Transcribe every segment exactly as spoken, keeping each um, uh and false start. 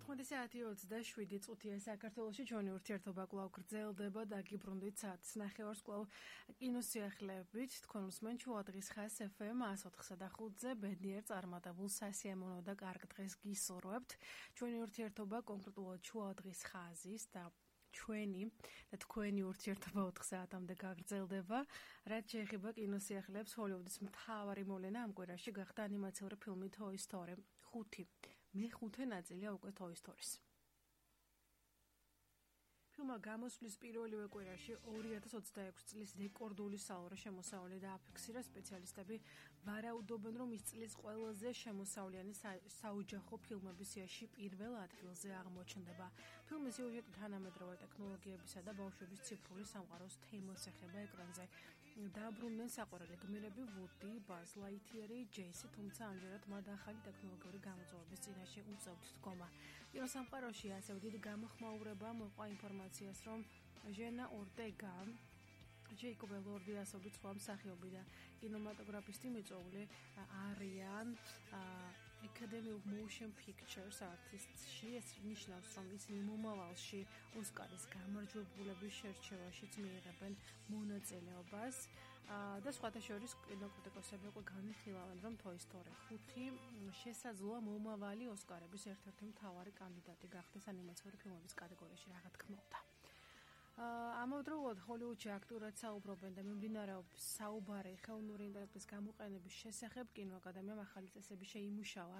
თოთხმეტი საათი ოცდაშვიდი წუთია საქართველოში ჩვენი ურთიერთობა კვლავ გრძელდება და გიბრუნდით საათის ნახევარს კვლავ კინოსიახლეებით. თქვენ უსმენთ შუადღის ხას ეფ ემ εκατს ოთხსა და ხუთზე ბედნიერ წარმატებულ სასიამოვნო და კარგ დღეს გისურვებთ. ჩვენი ურთიერთობა კონკრეტულად შუადღის ხაზის და ჩვენი და თქვენი ურთიერთობა ოთხ საათამდე გაგრძელდება. რაც შეეხება კინოსიახლეებს, ჰოლივუდის მთავარი მოვლენა ამ კვირაში გახდა ანიმაციური ფილმი Toy Story ხუთი. მეხუთე ნაწილია უკვე Toy Story-ს. ფილმმა გამოსვლის პირველივე კვირაში ორი ათას ოცდაექვსი წლის რეკორდული სალორო შემოსავალი დააფიქსირა. სპეციალისტები ვარაუდობენ, რომ ის წლის ყველაზე შემოსავლიანი საოჯახო ფილმების სიაში პირველ ადგილზე აღმოჩნდება. ფილმის სიუჟეტი თანამედროვე ტექნოლოგიებისა და ბავშვების ციფრული სამყაროს თემას ეხება ეკრანზე. დაბრუნდნენ საყვარელი გმირები ვუდი, ბაზ ლაითიერი, ჯეისი, თუმცა ამჯერად მათ ახალი ტექნოლოგიური გამოწვევების წინაშე უწევთ დგომა. კინოსამყაროში ასევე დიდი გამოხმაურება მოყვა ინფორმაციას, რომ ჟენა ორტეგა, ჯეიკობ ელორდი ასობით სხვა მსახიობი და კინემატოგრაფისტი მიწვეული არიან Academy of Motion Pictures Artists-ში. ეს ნიშნავს, რომ ისინი მომავალში ოსკარის გამარჯვებულების შერჩევაშიც მიიღებენ მონაწილეობას და სხვათა შორის კინოკრიტიკოსები უკვე განიხილავენ, რომ Toy Story ხუთი შესაძლოა მომავალი ოსკარების ერთ-ერთი მთავარი კანდიდატი გახდეს ანიმაციური ფილმების კატეგორიაში, რა თქმა უნდა. ამავდროულად ჰოლივუდში აქტიურად საუბრობენ და მიმდინარეობს საუბარი ხელოვნური ინტელექტის გამოყენების შესახებ. კინოაკადემიამ ახალი წესები შეიმუშავა,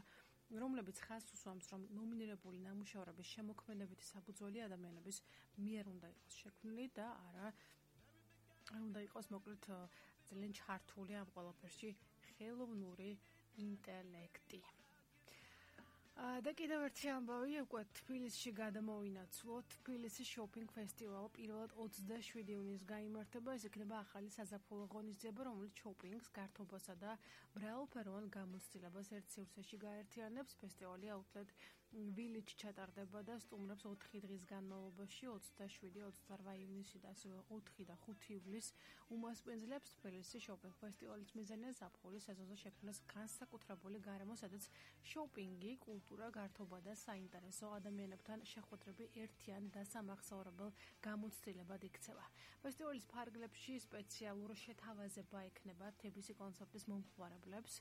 რომლებიც ხაზს უსვამს, რომ ნომინირებული ნამუშევრების შემოქმედებითი საფუძველი ადამიანების მიერ უნდა იყოს შექმნილი და არა არ უნდა იყოს მოკლედ ძალიან ჩართული ამ ყველაფერში ხელოვნური ინტელექტი. და კიდევ ერთი ამბავი, უკვე თბილისში გადამოვინაცვლო. თბილისის შოპინგ ფესტივალი პირველად ოცდაშვიდი ივნისს გაიმართება. ეს იქნება ახალი საზაფხულო ღონისძიება, რომელიც შოპინგს, გართობასა და მრავალფეროვან გამოცდილებას ერთ სივრცეში გაერთიანებს. ფესტივალი აუთლეტ Village ჩატარდება და სტუმრებს ოთხი დღის განმავლობაში ოცდაშვიდი, ოცდაოთხ ივნისი და ასევე ოთხი და ხუთი ივლისს უმასპინძლებს. თბილისის შოპინგ ფესტივალის მიზანია ზაფხულის სეზონზე შექმნას განსაკუთრებული გარემო, სადაც შოპინგი, კულტურა, გართობა და საინტერესო ადამიანებთან შეხვედრები ერთიან და სამახსოვრებელ გამოცდილებად იქცევა. ფესტივალის ფარგლებში სპეციალურ შეთავაზება ექნება თბილისის კონცერტის მომხმარებლებს.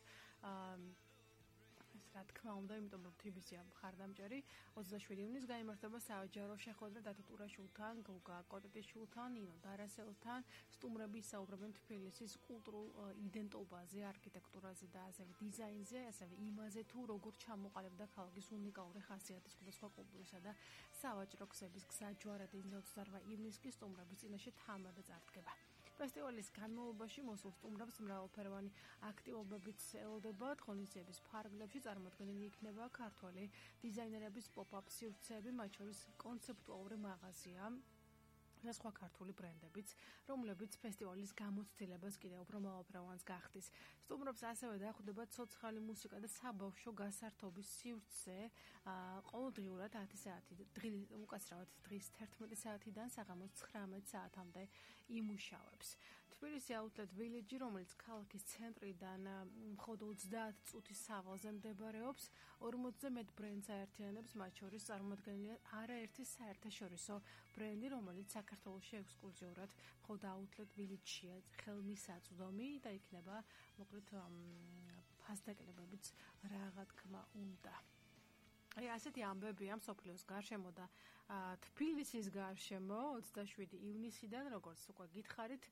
ეს რა თქმა უნდა, იმიტომ რომ თბილისია მხარდამჭერი. ოცდაშვიდი ივნისს გაიმართება საჯარო შეხვედრა დათო ტურაშვილთან, გოგა კოტეტიშვილთან, ნინო დარასელთან. სტუმრები ისაუბრებენ თბილისის კულტურულ იდენტობაზე, არქიტექტურაზე და ასევე დიზაინზე, ასევე იმაზე, თუ როგორ ჩამოყალიბდა ქალაქის უნიკალური ხასიათის სხვადასხვა კულტურისა და სავაჭრო გზების გზაჯვარედი. ოცდაოთხ ივნისს კი სტუმრების წინაშე თამადა წარდგება. ფესტივალის განმავლობაში მოსულ სტუმრებს მრავალფეროვანი აქტივობებიც ელოდებათ. ღონისძიების ფარგლებში წარმოდგენილი იქნება ქართველი დიზაინერების pop-up სივრცეები, მათ შორის კონცეპტუალური მაღაზია და სხვა ქართული ბრენდებიც, რომლებიც ფესტივალის გამოცდილებას კიდევ უფრო მრავალფეროვანს გახდის. სტუმრობს ასევე დახვდება ცოცხალი მუსიკა და საბავშვო გასართობის სივრცე. ყოველდღიურად ათი საათი, უკაცრავად დღის თერთმეტი საათიდან საღამოს ცხრამეტ საათამდე იმუშავებს. თბილისი აუთლეტ Village, რომელიც ქალაქის ცენტრიდან მხოლოდ ოცდაათი წუთის სავალზე მდებარეობს, ორმოცზე მეტ ბრენდს აერთიანებს, მათ შორის წარმოდგენილია არაერთი საერთაშორისო ბრენდი, რომელიც საქართველოში ექსკლუზიურად მხოლოდ აუთლეტ Village-ია ხელმისაწვდომი და იქნება მოკლედ ფასდაკლებებიც რა თქმა უნდა. აი ასეთი ამბებია მსოფლიოს გარშემო და თბილისის გარშემო. ოცდაშვიდი ივნისიდან, როგორც უკვე გითხარით,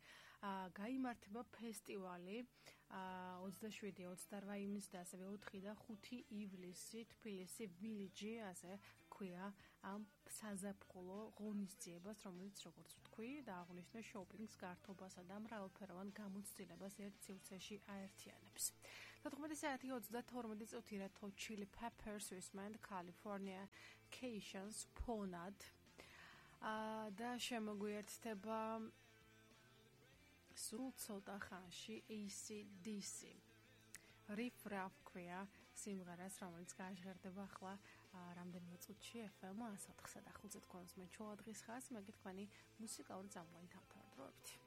გაიმართება ფესტივალი ოცდაშვიდი, ოცდაოთხ ივნისს და ასევე ოთხი და ხუთი ივლისი თბილისი Village, ასე ქვია ამ საზაფხულო ღონისძიებას, რომელიც როგორც ვთქვი, დააღნიშნე შოპინგს, გართობასა და მრავალფეროვან გამოცდილებას ერთ სივრცეში აერთიანებს. თოთხმეტი საათი ოცდათორმეტი წუთი Red Hot Chili Peppers ვისმენთ California Cations ფონად და შემოგვიერთდება სულ ცოტა ხანში A C D C. Riff Raff ქვია სიმღერას, რომელიც გაჟღერდება ახლა რამდენიმე წუთში ეფ ემ εκατს ოთხსა და ხუთზე თქვენს მე შუადღის ხაზს, მე თქვენი მუსიკალური წამყვანი თავთავად დროებით.